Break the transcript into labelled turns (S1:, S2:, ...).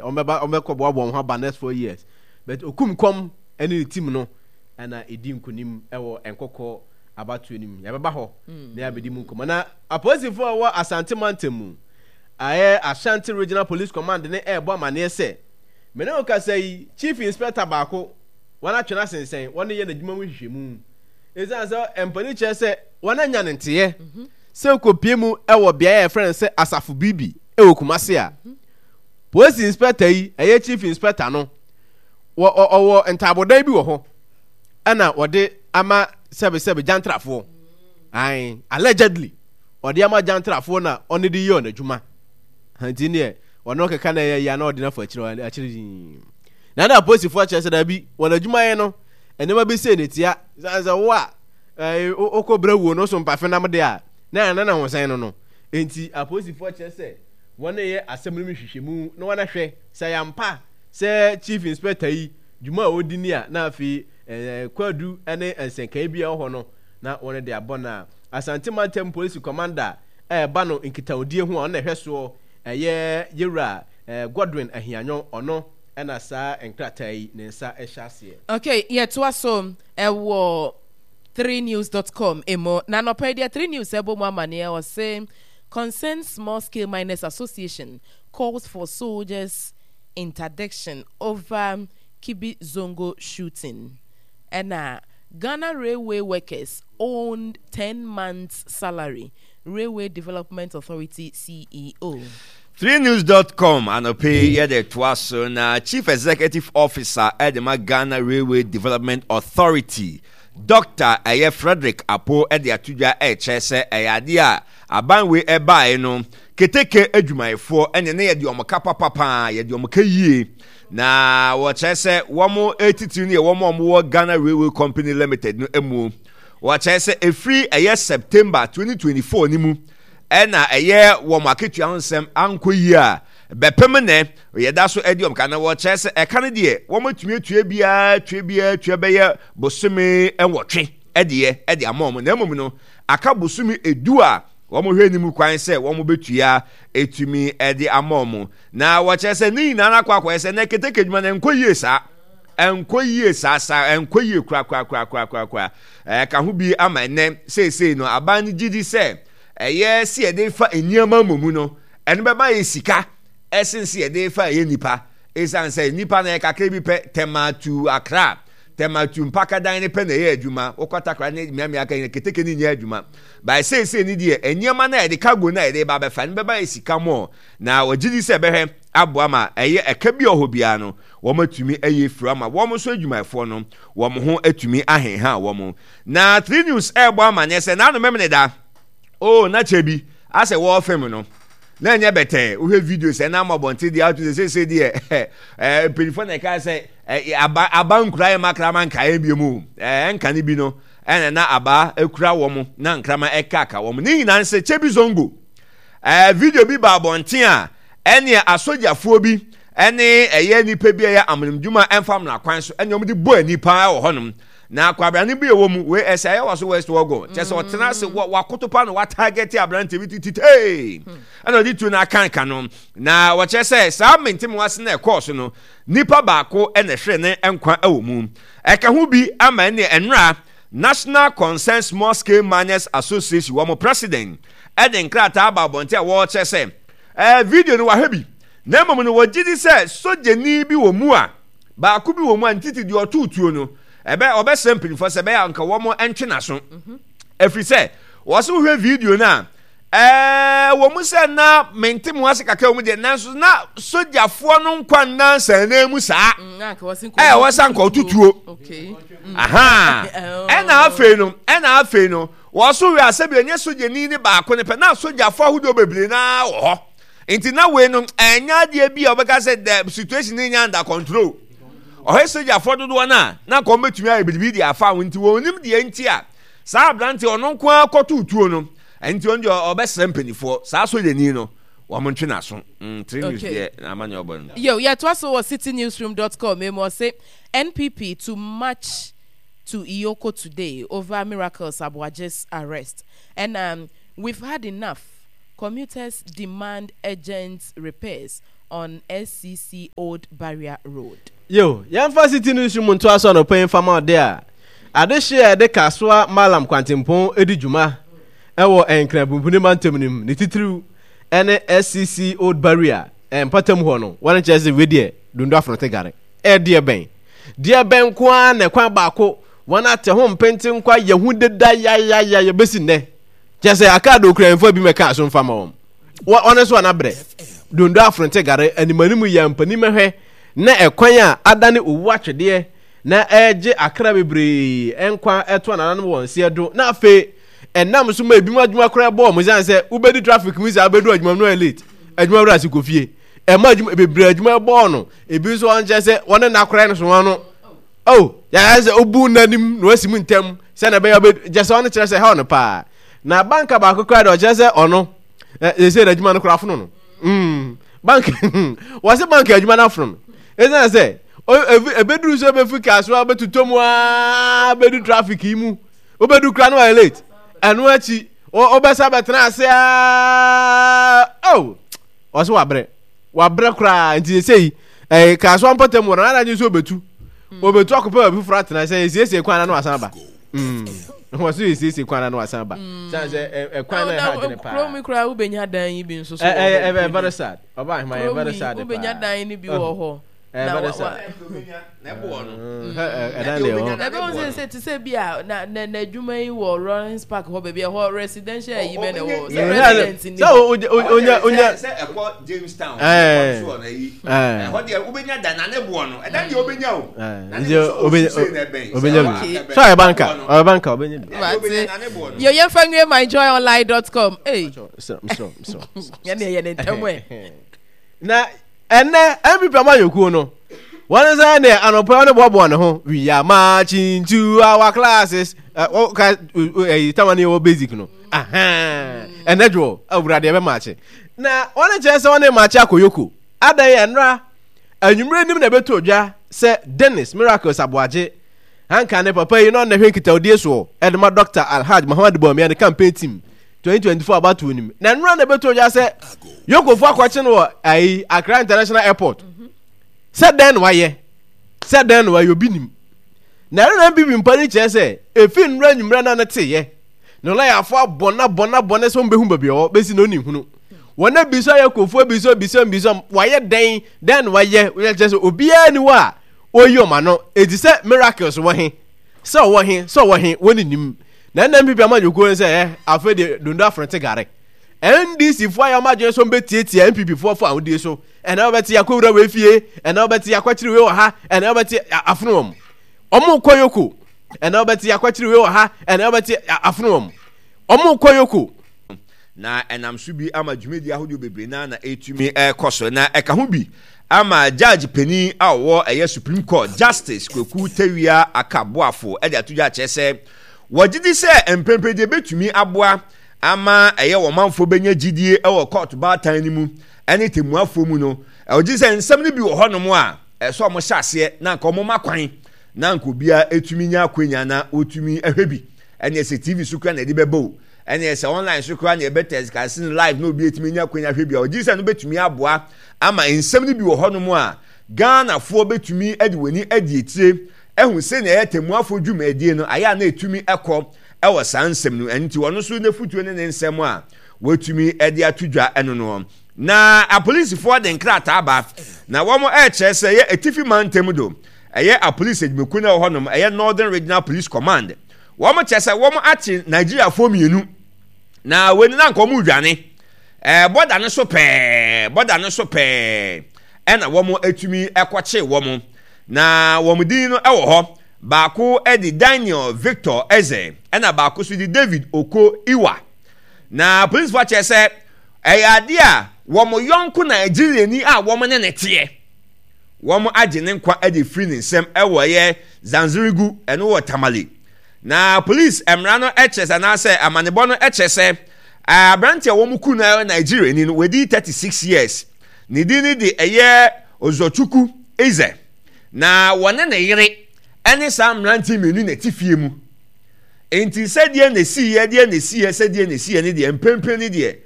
S1: Wɔbɛba wɔbɛkɔ boaboa wɔn ho aba next 4 years, but Okum Kɔm ne ne team no ɛna ɛdi nkonim ɛwɔ Nkɔkɔ abatoɔ no mu. Yɛbɛba hɔ na yɛabɛdi mu nkɔmmɔ. Na apolisifoɔ a ɛwɔ Asante mantam mu, ayɛ Ashanti Regional Police Command ne ɛrebɔ amaneɛ sɛ me ne wo kasa yi, Chief Inspector baako wɔn atwe no asensɛn, wɔn yɛ n'adwuma mu nhwehwɛmu ɛsiane sɛ mpanin kyerɛ sɛ wɔn anya ne nteɛ sɛ kɔpie mu ɛwɔ beaeɛ a yɛfrɛ no sɛ Asafo Bibi ɛwɔ Kumase a Polisi inspector yi, ɛyɛ chief inspector no, wɔ ɔwɔ ntaabodan bi wɔ hɔ ɛna wɔde ama sɛbesɛbe gyantrafoɔ. Ae, allegedly, ɔde ama gyantrafoɔ na ɔne de yɛ ɔno adwuma. Nti neɛ ɔno keka na ɛyɛ yia na ɔde no afa akyire akyire yii. Na na apolisifoɔ kyerɛ sɛ daabi, wɔn adwumayɛ no, nneɛma bi sei ne tia. Sɛ sɛ wo a, wokɔ brɛ wuo no so mpafenam de a, na ɛna na ho sɛn no no. Nti apolisifoɔ kyerɛ sɛ wɔreyɛ asɛm no mu nhwehwɛmu na wɔahwɛ sɛ ɛyɛ ampa sɛ Chief Inspector yi dwuma a ɔredi ni a, na afei kwaadu ne nsɛnkae bi a ɛwɔ hɔ no na wɔde abɔ no a. Asante Mantam Polisi Commander a ɛba no nkitahodie ho a ɔno na ɛhwɛ soɔ, ɛyɛ Yewura Godwin Ahianyɔ, ɔno na saa nkrataa yi ne nsa hyɛ aseɛ.
S2: Okay, yɛtoa so wɔ 3news dot com mu. Na anɔpa yi deɛ 3news ɛbɔ mu amaneɛ, ɔse Concerned Small Scale Miners Association calls for soldiers interdiction over Kibi Zongo shooting. Ɛna Ghana Railway workers owned 10 months salary, Railway Development Authority CEO.
S3: 3news dot com anɔpa yi yɛde toa so na Chief Executive Officer de ma Ghana Railway Development Authority, Dɔkta ɛyɛ Frederick Apo de ato dwa ɛrekyerɛ sɛ ɛyɛ adeɛ a aban wei ɛbaeɛ no keteke adwumayɛfoɔ ɛne ne yɛde wɔn ka papa paa, yɛde wɔn ka yie, na wɔkyerɛ sɛ wɔn titiri no yɛ wɔn a wɔwɔ Ghana Railway Company Limited no mu. Wɔkyerɛ sɛ ɛfiri ɛyɛ September 2024 no mu ɛna ɛyɛ wɔn akatua ho nsɛm ankɔ yie a bɛpem nnɛ yɛda so adi wɔn ka, na wɔkyerɛ sɛ ɛka no deɛ wɔatumi atua biara tua biara tua bɛyɛ bosome 8 ɛdeɛ ɛde ama wɔn, na mmom no aka bosome 10 a wɔn hwɛ anim kwan sɛ wɔn bɛtua ɛtumi ɛde ama wɔn. Na wɔkyerɛ sɛ ne nyinaa no akɔ akɔyɛ sɛ na keteke adwuma no ɛnkɔ yie saa, ɛnkɔ yie saa saa, ɛnkɔ yie korakorakorakorakoraa. Ɛka ho bi ama ɛnɛ seesei no aban no gye di sɛ ɛyɛ sɛ yɛde fa nneɛma mmom no ɛno bɛma yɛ sika ɛsen sɛ yɛde fa ɛyɛ nipa, ɛsiane sɛ nipa no yɛ kakra bi pɛ. Tema to Accra, Tema to Mpakadan no pɛ na ɛyɛ adwuma. Wokɔ Takra ne mmeammea ka nyina keteke no nyɛ adwuma. Bae seesei no deɛ nneɛma no a yɛde cargo no a yɛde ba bɛfa no bɛma yɛ sika mɔ, na wɔgye di sɛ ɛbɛhwɛ aboa ma ɛyɛ ɛka bi a ɔhɔ biara no wɔatumi ayi afiri ama wɔn nso adwumayɛfoɔ no wɔn ho atumi ahenha wɔn. Na 3 News ɛrebɔ amanneɛ sɛ n'ano memene da oh na kyɛ bi asɛ wɔrefilm no na ɛnyɛ bɛtɛɛ. Wohwɛ video sɛ na ama abɔnten deɛ ato sɛ seesei deɛ ɛɛ mpanyinfoɔ na ɛka sɛ ɛɛ aba aba nkura yɛ makrama nkaeɛ bi mu ɛɛ nka ne bi no ɛna na aba ekura wɔn na nkrama ɛkaka wɔn ne nyinaa nsɛ kyɛ bi zongo ɛɛ video bi ba abɔnten a ɛneɛ asogyafoɔ bi ɛne ɛyɛ nipa bi a ɛyɛ amanimdwuma ɛmfa mmara kwan so ɛne wɔn de bɔ ani paa wɔ hɔnom. Na kwabrane bi ɛwɔ mu wei ɛsɛ ayɛ wɔ so West Wɔgɔ kyɛ sɛ ɔtena ase wɔ wakoto pa na watagɛte aberante bi tititee ɛna ɔde tuo no akanka no. Na wɔkyerɛ sɛ saa mentemehoase na ɛkɔɔ so no nipa baako ɛna ɛhwere ne nkwa ɛwɔ mu. Ɛka ho bi ama ɛne ɛnora National Concern Small Scale Miners Association wɔn president ɛde nkrataa aba abɔnten a wɔrekyerɛ sɛ ɛɛ video no wahwɛ bi, na mmom no wɔgye di sɛ sogyani bi wɔ mu a baako bi wɔ mu a ntiti deɛ ɔtoo tuo no ɛbɛ ɔbɛsrɛ mpanyinfoɔ sɛ ɛbɛyɛ anka wɔn ntwe n'aso, ɛfiri sɛ wɔsɛ wohwɛ video no a ɛɛ wɔ mu sɛ na mente mu ase kakra wɔ mu deɛ, nanso na sogyafoɔ no nkwa nna nsɛnnan mu saa ɛɛ wɔsɛ anka ɔto tuo. Aha, ɛna afei no wɔso wɛ asɛ bi ɛnyɛ sogyani ne baako ne pɛ, na sogyafoɔ ahodoɔ bebree naa wɔ hɔ, nti na wei no ɛnyɛ adeɛ bi a wɔbɛka sɛ the situation ne nya under control. Ɔhɛ sogyafoɔ dodoɔ no a na nka wɔbɛtumi ayɛ biribi de afa ho, nti wɔn nim deɛ nti a saa aberante ɔno nko ara kɔtoo tuo no, nti ɔno deɛ ɔbɛsrɛ mpanimfoɔ saa sogyani no wɔn ntwe n'aso. 3 News deɛ ama nea ɔbɔ no.
S2: Yo, yɛtoa so wɔ citynewsroom.com mu, ɔse NPP to march to EOCO today over Miracles Aboagye's arrest. And we've had enough. Commuters demand urgent repairs. on SCC Old Barrier Road.
S1: Yiw, yɛmfa Citi no nsu mu ntoa so anɔpa yi mfa ma ɔde a adehye a ɛde Kasoa Mallam kwantempɔn di dwuma wɔ Nkran Pumpuni mantam no mu, ne titiriw ne SCC Old Barrier mpɔtam hɔ no, wɔn kyerɛ sɛ wei deɛ Dondo Afonote Gare. Ɛdeɛ bɛn? Deɛ bɛn nko ara na ɛkwan baako wɔn ate ho mpentenkwa yɛ ho deda yayaya bɛsi nnɛ. Kyerɛ sɛ aka de okuranfoɔ bi mɛka so mfa ma wɔn. Wɔn nso anabrɛ. Dondo Afonote Gare animanim yɛ mpanin mɛhwɛ na ɛkwan a adane owu atwedeɛ na ɛregye akra bebree nkwa ɛto anananom wɔn nseɛ do na afei ɛnam so ma ebinom adwuma koraa bɔ wɔn ɛsiane sɛ wobɛdi traffic mu saa wobɛdu adwuma mu no ayɛ late adwuma wura ase kɔ fie ɛma adwuma bebree adwuma bɔɔ no ebi nso wɔn kyerɛ sɛ wɔn ne n'akora no so wɔn no oh yɛayɛ sɛ obu n'anim na wasi mu ntɛm sɛ na ɛbɛyɛ ɔbɛ gyɛ sɛ ɔno kyerɛ sɛ ɛhaw no paa na banka baako koraa deɛ ɔkyerɛ sɛ ɔno ɛsɛ n'adwuma no koraa afono no mm bank wɔsi bank adwuma no afono no ɛsiane sɛ ebeduru so ebefi kaa so abɛtotɔ mu aa bɛdu traffic yi mu wobɛdu kora no ayɛ late ɛno akyi wobɛsa bɛtena ase aa oh ɔsɛ wabrɛ wabrɛ koraa nti sɛ yi ɛyɛ kaa so mpɔtam wɔ no anadwo nso obetu obetu akɔpɛ baabi foforɔ atena sɛ esiesie kwan na no asan ba wɔ so esiesie kwan na no asan ba san sɛ ɛkwan na ɛha adwene paa
S2: kurom koraa wobɛnya dan yi bi nso so
S1: wɔ hɔ ɛɛ very sad ɔba ahema yɛ very sad paa
S2: kurom yi wobɛnya dan no bi wɔ hɔ
S1: na wa wa ɛdan deɛ hɔ
S2: ɛbɛn sɛ sɛ te sɛ bi a na na n'adwuma yi wɔ Lawrence Park hɔ baabi ɛhɔ residential yi bɛ na ɛwɔ sɛ resident ni
S1: sɛ onya onya
S3: sɛ ɛkɔ Jamestown ɛkɔ so ɔna yi ɛhɔ deɛ wobɛnya dan na ne boɔ no ɛdan deɛ wobɛnya o na ne boɔ so
S1: obɛnya bi so ɔyɛ banka ɔyɛ banka obɛnya bi
S2: yɛ yɛn fa nwie myjoyonline.com ee yɛn deɛ yɛ ne ntɛm ɛ
S1: na Ɛnnɛ, NPP amanyɔkuo no, wɔn nsa ne anɔpa wɔn boaboa ne ho. We are marching to our classes. Ɔka ɛyi tama ne wɔ basic no. Ɛnɛ dwoɔ awurade ɛbɛ maakye. Na wɔn kyerɛ sɛ wɔn maakye akɔ yoko. Adan ɛnra anwummerɛ nim na ɛbɛtɔ dwa sɛ Dennis Miracles Aboagye anka ne papa yi na ɔna hwɛ nkitahodie soɔ ɛde ma Dr. Alhaj Muhammad Bawumia ne campaign team 2024 abatoɔ nim na nnora na ɛbɛtɔ dwa sɛ yokofo akɔkye no wɔ ayi Accra International Airport sɛ dɛn na wayɛ sɛ dɛn na wayɛ obi nim na ɛno na mbibi mpa no kyerɛ sɛ efi nnora nwummerɛ na ne teyɛ na lɔyafo abɔ na bɔ na bɔ ne sɛ wɔn bɛhu baabi ɔwɔ bɛsi na ɔni hunu wɔn abisa yɛ kofo abisa abisa abisa wayɛ dɛn dɛn na wayɛ wɔyɛ kyerɛ sɛ obiara ni hɔ a ɔyi wɔn ano eti sɛ miracles wɔ he sɛ ɔwɔ he sɛ ɔwɔ he wɔn nim Na ɛna NPP amanyɔkuo no sɛ ɛ afei deɛ dondo afronte gare. NDC foɔ ayɛ wɔn adwene sɛ wɔbɛtiatia NPP foɔ fo ahodie so. Ɛna wɔbɛte akɔwura wei fie, ɛna wɔbɛte akɔkyere wei wɔ ha, ɛna wɔbɛte afono wɔn. Wɔn kɔ yoko. Ɛna wɔbɛte akɔkyere wei wɔ ha, ɛna wɔbɛte afono wɔn. Wɔn kɔ yoko.
S3: Na ɛnam so bi ama dwumadi ahodoɔ bebree no ara na ɛretumi rekɔ so. Na ɛka ho bi ama Judge panin a ɔwɔ ɛyɛ Supreme Court, Justice Kweku Tawia Aka Boafo de ato dwa akyerɛ sɛ wɔgye di sɛ mprempren deɛ ɛbɛtumi aboa ama ɛyɛ wɔn manfoɔ bɛnya gyidie wɔ kɔɔto baatan no mu ne tɛmmuafoɔ mu no, wɔgye di sɛ nsɛm no bi wɔ hɔnom a ɛsɛ wɔn hyɛ aseɛ na anka wɔn ma kwan na anka obiara ɛtumi nya akwanya na wɔtumi hwɛ bi. Ɛneɛ sɛ TV so kura na ɛde bɛba o, ɛneɛ sɛ online so koraa na yɛbɛ telecast no live na obi atumi anya akwanya ahwɛ bi a, ɔgye sɛ no bɛtumi aboa ama nsɛm no bi wɔ hɔnom a Ghanafoɔ bɛtumi de wɔn ani adi akyire ahu sɛnea ɛyɛ tɛmmuafoɔ dwumadie no ayɛ a na ɛtumi kɔ wɔ saa nsɛm no ɛno nti ɔno nso n'afutuo ne ne nsɛm a wɔatumi de ato dwa ɛno no. Na apolisifoɔ de nkrataa ba na wɔn ɛrekyerɛ sɛ ɛyɛ atifi mantam do ɛyɛ apolisi adwumakuo no ɛwɔ hɔnom ɛyɛ Northern Regional Police Command Wɔn kyerɛ sɛ wɔn akye Nigeriafoɔ mmienu na wei no na nka wɔn redwane ɛɛ bɔda no so pɛɛ bɔda no so pɛɛ ɛna wɔn atumi ɛkɔkye wɔn na wɔn din no ɛwɔ hɔ baako ɛde Daniel Victor Eze ɛna baako so de David Oko Iwa na polisifoɔ akyerɛ sɛ ɛyɛ adeɛ a wɔn yɔnko Nigeriani a wɔn ne ne teɛ. Wɔagye ne nkwa de afiri ne nsam wɔ ɛyɛ Zanzirigu, ɛno wɔ Tamale. Na polisi mmara no kyerɛ sɛ anaasɛ amanebɔ no kyerɛ sɛ aberante a wɔn ku no yɛ Nigeriani no wadi 36 years. Ne din no de ɛyɛ Ozochukwu Eze. Na wɔne ne yere ne saa mmerante mmienu na ɛte fie mu. Enti sɛdeɛ na ɛsiiɛ, deɛ na ɛsiiɛ, sɛdeɛ na ɛsiiɛ ne deɛ mprempren ne deɛ.